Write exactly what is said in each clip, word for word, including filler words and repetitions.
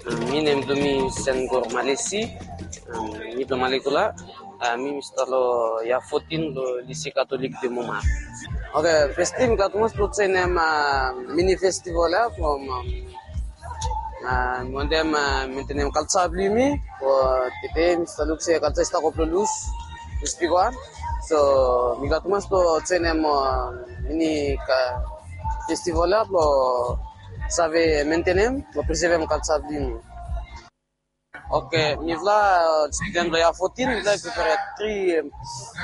Mi nem blo mi Sengor Malesi. Mi blo Malekula. Mi mi stap lo yia fotin lo Lise Katolik de Moma. Oke, festi mi glad tumas blo joenem mini festival ya from wantem mentenem kalsa blo yumi. Tede mi stap luk se kalsa i stap go blo lus, lus bigwan. So mi glad tumas blo joenem mini festival ya blo save mentenem blo prisevem kalsa blo yumi. Oke, mifala student blo yia fotin, mifala i prepare tri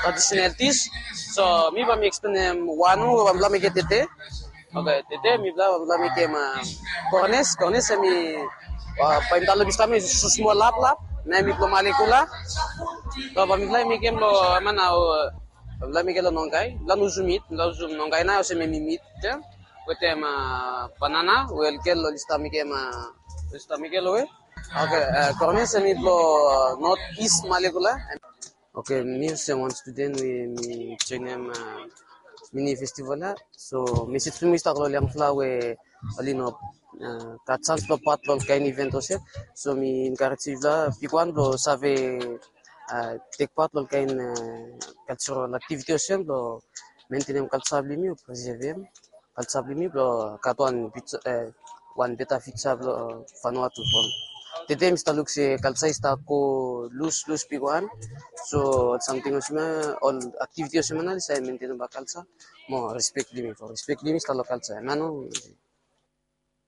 traditional dish. So mi bae mi eksplenem wan we bae mifala mekem tede. Oke, tede mifala bae mifala mekem kornes. Kornes hemi bae mi talem bifo mi so smol laplap. Na mi blo Malekula. So bae mifala mekem lo hemia nao, bae mifala mekem lo nongkai. Mifala no usum it, mifala usum nongkai nao olsem hemi mit wetem banana we olgel oli stap mekem, oli stap mekem lo we. Oke, kornes hemi blo North East Malekula. Oke, mi olsem wan student we mi joenem mini festival ya. So mesej blo mi i stap go lo ol yangfala we oli no gat sans blo pat lo ol kaen event olsem. So mi enkarejem yufala bigwan blo save tek pat lo ol kaen cultural activity olsem blo mentenem kalsa blo yumi o prisevem kalsa blo yumi blo gat wan beta fiuja blo Vanuatu from. Tede mi stap luk se kalsa i stap go lus, lus bigwan. So ol samting olsem ya, ol activity olsem ya nao oli save mentenem bak kalsa mo respek blo yumi, blo respek blo yumi i stap lo kalsa ya nao.